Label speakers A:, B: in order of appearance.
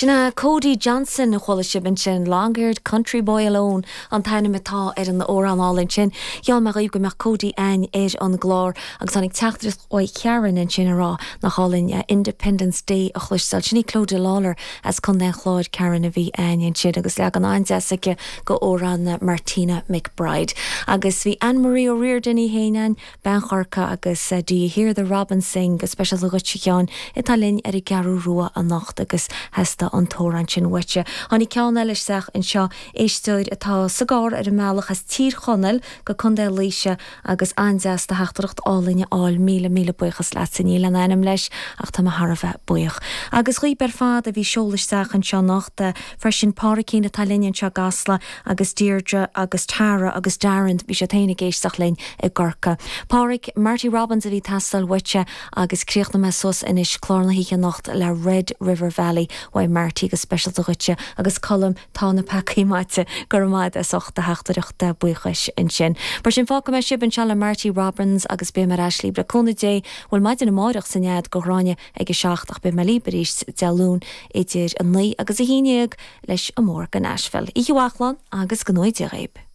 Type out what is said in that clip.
A: Sin é Cody Johnson a chuala sibh ansin, Long Haired Country Boy Alone an t-ainm atá ar an amhrán álainn sin. Gheall mé dhaoibh go mbeadh Cody a'ainn ar an gclár agus tháinig teachtaireacht uaidh Sharon ansin ag rá nach álainn Independence Day a chloisteáil. Sin í Clodagh Lawlor as Contae an Chláir, Karen a bhí a'ainn ansin agus leagan an-deas aici go amhrán Martina McBride. Agus bhí Anne Marie O'Riordan í féin a'ainn, Bean Chorcaí agus Do You Hear the Robin Sing go speisialta dhuit a Sheáin atá linn ar an gCeathrú Rua anocht agus theastaigh an t-amhrán sin uaitse. Tháinig ceann eile isteach anseo, éisteoir atá sa gcarr ar an mbealach as Tír Chonaill go Contae Laoise agus an-deas do theachtaireacht álainn a fháil, míle míle buíochas leatsa, níl aon ainm leis ach tá mé thar a bheith buíoch. Agus dhaoib ar fad a bhí ag seoladh isteach anseo anocht freisin, Pádraicín atá linn anseo i gCasla, agus Deirdre agus Tara agus Darren, bhí siad féin ag éisteacht linn i gCorcaigh. Pádraic, Marty Robbins a bhí ag teastáil uaitse agus críochnóidh mé suas anois clár na hoíche anocht le Red River Valley uaidh Marty go speisialta dhuitse agus Colm, tá na peacaí maite, go raibh maith agat as ucht do theachtaireacht buíochais ansin. Mar sin fágfaidh mé sibh anseo le Marty Robbins agus beidh mé ar ais libh le cúnamh Dé, bhuel maidin amáireach san fhead go Ghráinne ag a 7 ach beidh mé libh arís Dé Luain idir 9 agus 11 leis an mbóthar go Nashville. Oíche mhaith a chlann agus go ngnóthaí Dia dhaoib.